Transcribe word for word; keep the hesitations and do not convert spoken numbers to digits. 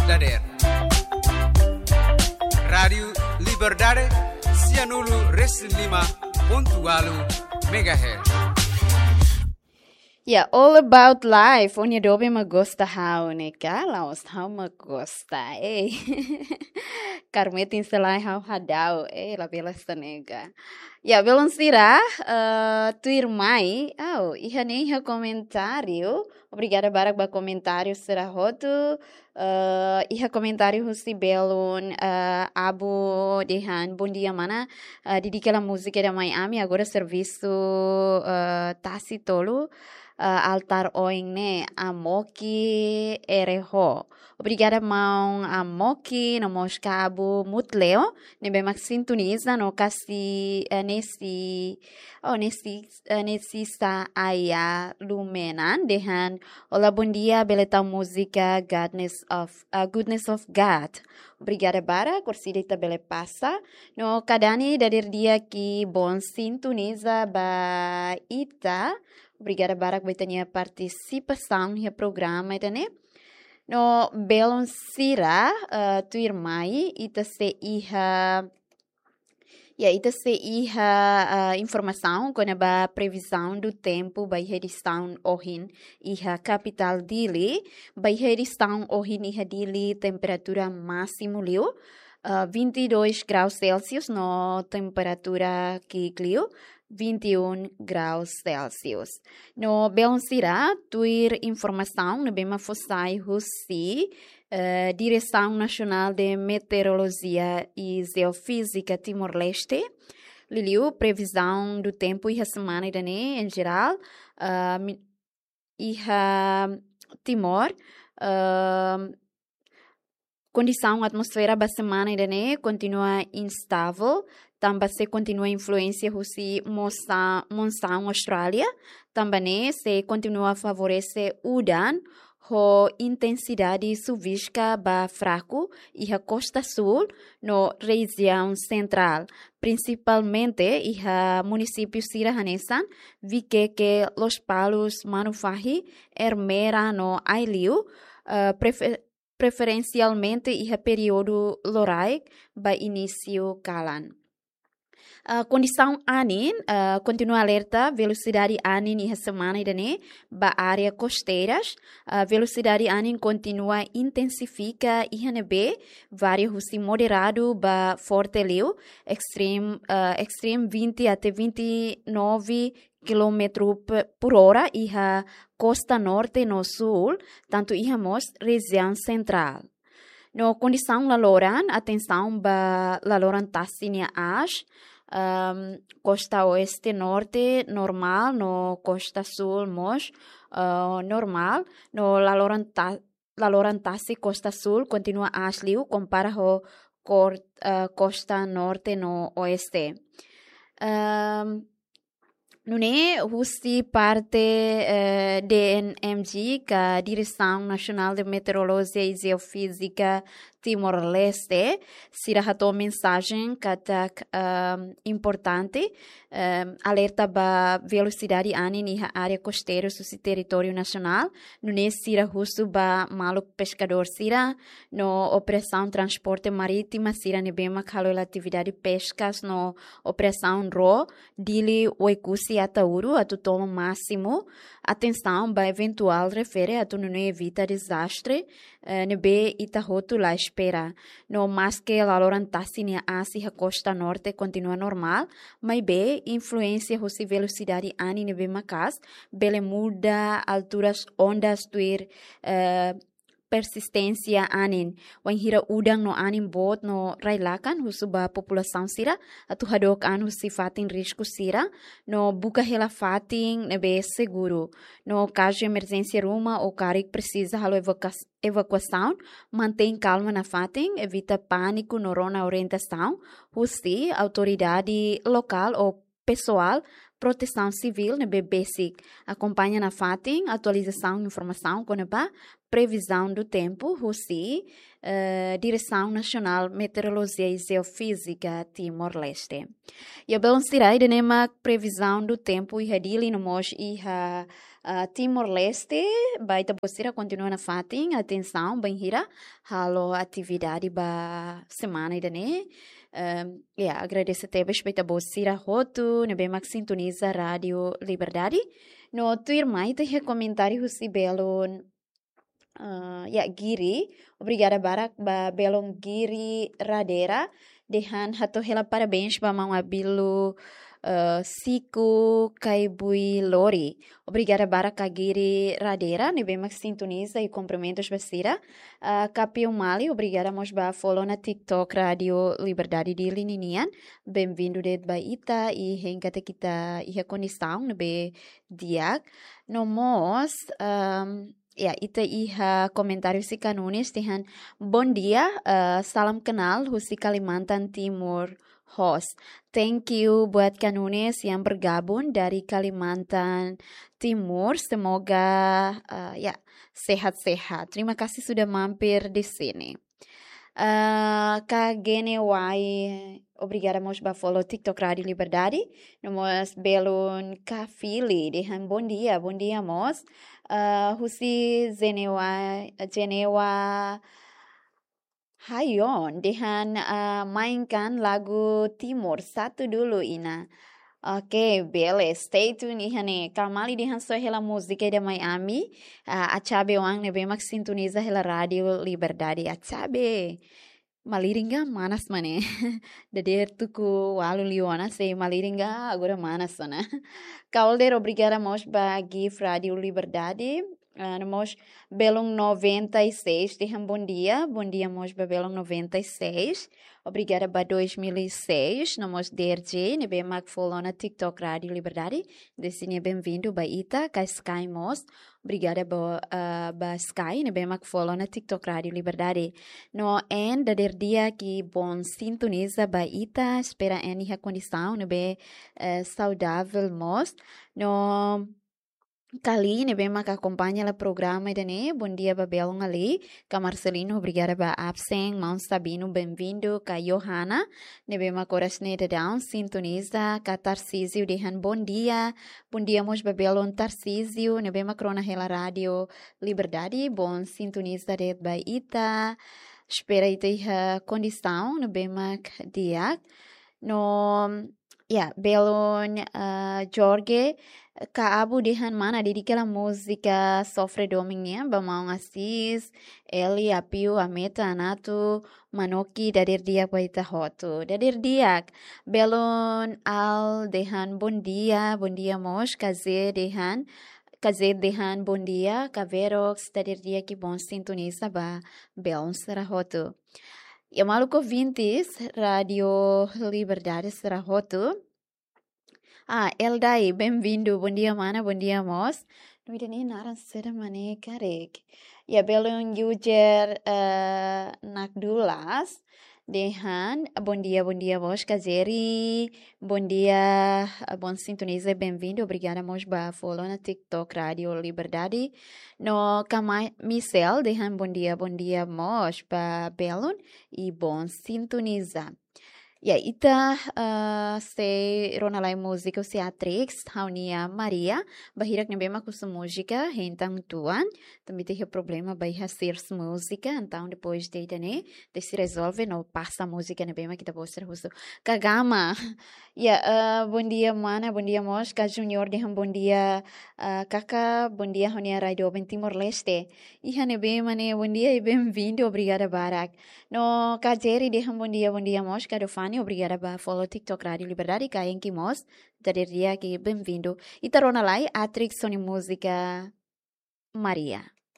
Dader. Rádiu Liberdade, sianulu resin lima pontu ualu megahertz. Ya, All About Life, ó-nia doben mak gosta ha'u ne'e ka, la'ós ha'u mak gosta, ei. Karmetin selai ha'u hadau, ei, labele hanesan ne'e ka. Ya, belun sira, eh, tuirmai, au, iha ne'e iha komentáriu, obrigada barak ba komentáriu sira hotu, eh, iha komentáriu husi belun, eh, Abu dehan, "Bom dia, mana. Eh, dedika hela múzika ida mai ami, agora servisu, eh, tasi tolu, eh, altar oin ne'e, Amoki Ereho." Obrigada, maun Amoki, no mós ka Abu Mutleo, ne'ebé mak sintoniza no kasi, eh, nesi, oh, nesi, eh, nesi sa aya lumenan, dehan, "Olá, bom dia, bele tau múzika Goodness of, eh, Goodness of God." Obrigada barak, orsida ita bele pasa. No ka Dani dader di'ak, bom sintoniza ba ita. Obrigada barak ba ita-nia partisipasaun iha programa ida-ne'e. No belun sira, eh, tuirmai, ita sei iha, ya, ita sei iha, eh, informasaun kona-ba previzaun do tempu ba iha edisaun ohin iha kapitál Dili. Ba iha edisaun ohin iha Dili, temperatura másimu liu, eh, vinte e dois graus Celsius, no temperatura ki'ik liu, vinte e um graus Celsius. No belun sira, tuir informasaun ne'ebé mak fó sai husi, eh, Diresaun Nasionál de Meteorolojia i Jeofízika Timor-Leste, liuliu previzaun do tempu iha semana ida-ne'e, em geral, eh, mi-, iha Timor, eh, kondisaun atmosfera ba semana ida-ne'e kontinua instável, tanba sei kontinua influénsia husi mosa-, monsaun Austrália, tanba ne'e sei kontinua favorese udan ho intensidade suvíska ba fraku iha kosta súl no rejiaun sentrál, prinsipalmente iha munisípiu sira hanesan Vikeke, Lospalos, Manufahi, Ermera no Aileu, eh, prefe-, preferensialmente iha períodu loraik ba inísiu kalan. Ah, kondisaun anin, ah, kontinua alerta velosidade anin iha semana ida-ne'e ba área kosteiras. Ah, velosidade anin kontinua intensifika iha ne'ebé varia husi moderadu ba forte liu, extreme, ah, extreme vinte até vinte e nove quilômetro pe-, por hora iha kosta norte no súl, tantu iha mós rejiaun sentrál. No kondisaun laloran, atensaun ba laloran tasi nia aas, ehm, kosta oeste norte normál, no kosta súl mós, eh, normál, no laloran ta-, laloran tasi kosta súl kontinua aas liu kompara ho kor-, eh, kosta norte no oeste. Ehm, Nune'e husi parte, eh, D N M G, ka Diresaun Nasionál de Meteorolojia i Jeofízika Timor-Leste, sira hato'o mensajen katak, ehm, importante, ehm, alerta ba velosidade anin iha área kosteiru husi territóriu nasionál, nune'e sira husu ba maluk peskadór sira, no operasaun transporte marítima sira ne'ebé mak halo hela atividade peskas no operasaun ró, Dili, Oekusi, Ataúru, atu toma másimu atensaun ba eventuál refere atu nune'e evita dezastre, eh, ne'ebé ita hotu la espera. No maske laloran tasi nia aas iha kosta norte kontinua normál, maibé influénsia husi velosidade anin ne'ebé maka'as bele muda alturas ondas tuir, eh, persisténsia anin. Wainhira udan no anin boot no rai-lakan, husu ba populasaun sira atu hadook an husi fatin risku sira, no buka hela fatin ne'ebé seguru. No kazu emerjénsia ruma ou karik presiza halo evakuas-, evakuasaun, mantein kalma nafatin, evita pániku no rona orientasaun husi autoridade lokál ou pesoál protesaun sivíl ne'ebé besik. Akompaña nafatin atualizasaun informasaun kona-ba previzaun do tempu husi, eh, Diresaun Nasionál Meteorolojia i Jeofízika Timor-Leste. Ya, belun sira, ida-ne'e mak previzaun do tempu iha Dili no mós iha ah, Timor-Leste, ba ita-boot sira kontinua nafatin atensaun bainhira halo atividade ba semana ida-ne'e. Ehm, ya, agradese tebes ba ita-boot sira hotu ne'ebé mak sintoniza Rádio Liberdade. No tuirmai ita iha komentáriu husi belun, ah, ya, Giri. Obrigada barak ba belun Giri Radera. Dehan hato'o hela parabéns ba maun Abilu, eh, Siku Kaibui Lori. Obrigada barak ka Giri Radera ne'ebé mak sintoniza, i kumprimentus ba sira. Ah, Kapiu Mali, obrigada mós ba follow ona TikTok Rádio Liberdade Dili ninian. Bem-vindo de'it ba ita, i hein katak ita iha kondisaun ne'ebé di'ak. No mós, ehm, ya, ita iha komentáriu husi Ka Nunes dehan, "Bom dia, eh, salam kenal husi Kalimantan Timur host." Thank you buat Ka Nunes yang bergabung dari Kalimantan Timur. Semoga, eh, ya, sehat-sehat. Terima kasih sudah mampir di sini. Eh, Ka Gene Wai, obrigada mós ba follow TikTok Rádio Liberdade. No mós belun Ka Fili dehan, "Bom dia, bom dia mós." Eh, husi Genewa, Genewa Hayon dehan, ah, "Mainkan lagu Timur satu dulu, Ina." Oke, bele, stay tune iha ne'e. Ka Mali dehan, "Soe hela múzika ida mai ami, ah, Achabe oan ne'ebé mak sintoniza hela Rádio Liberdade." Achabe. Malirin ga manas mak ne'e. Dadeer tuku ualu liu ona sei malirin ga agora manas ona. Ka Older, obrigada mós ba gift Rádio Liberdade. Ah, no mós belun noventa e seis dehan, "Bom dia." Bom dia mós ba belun noventa e seis. Obrigada ba dois mil e seis. No mós D R J ne'ebé mak follow ona TikTok Rádio Liberdade. Desde ne'e bem-vindo ba ita. Ka Sky mós, obrigada ba, ah, ba Sky ne'ebé mak follow ona TikTok Rádio Liberdade. No en dadeer di'ak i bom sintoniza ba ita. Espera en iha kondisaun ne'ebé, eh, saudável mós. No Ka Li ne'ebé mak akompaña hela programa ida-ne'e, "Bom dia ba belun Ali." Ka Marcelino, obrigada ba absen. Maun Sabino, bem-vindo. Ka Johanna ne'ebé mak oras ne'e daudaun sintoniza. Ka Tarcísio dehan, "Bom dia." Bom dia mós ba belun Tarcísio ne'ebé mak rona hela Rádio Liberdade. Bom sintoniza de'it ba ita. Espera ita iha kondisaun ne'ebé mak di'ak. No, ya, belun, ah, Jorge, "Ka Abu dehan mana, dedika hela múzika Sofre Domin nian ba maun Assis, Eli, Apiu, Ameta, Anatu, Manoki, dadeer di'ak ba ita hotu." Dadeer di'ak. Belun Al dehan, "Bom dia." Bom dia mós. Ka Ze dehan, Ka Ze dehan, "Bom dia." Ka Verox, "Dadeer di'ak i bom sintoniza ba belun sira hotu." Ya, maluk ouvintes Rádio Liberdade sira hotu. Ah, Eldai, bem-vindo. Bom dia, mana. Bom dia mós. Nome ida-ne'e naran saida mak ne'e karik? Ya, belun user, eh, Nakdulas dehan, "Bom dia, bom dia mós." Ka Jerry, "Bom dia, eh, bom sintoniza, bem-vindo." Obrigada mós ba follow ona TikTok Rádio Liberdade. No Ka Ma-, Michel dehan, "Bom dia, bom dia mós ba belun i bom sintoniza." Ya, ita, eh, sei rona lai múzika husi Atrix, ha'u-nia Maria. Ba hirak ne'ebé mak husu múzika, hein tan tuan. Tanba ita iha problema ba iha search múzika, entaun depois de ida-ne'e, ita sei rezolve no pasa múzika ne'ebé mak ita-boot sira husu. Ka Gama. Ya, eh, "Bom dia, mana." Bom dia mós. Ka Junior dehan, "Bom dia, eh, Kaka. Bom dia, ha'u-nia rai doben Timor-Leste." Iha ne'ebé mak ne'e, bom dia i bem-vindo, obrigada barak. No Ka Jerry dehan, "Bom dia, bom dia mós." Ka Dofani, obrigada ba follow TikTok Rádio Liberdade. Ka Enki mós, "Dadeer di'ak i bem-vindo." Ita rona lai Atrix ho nia múzika Maria.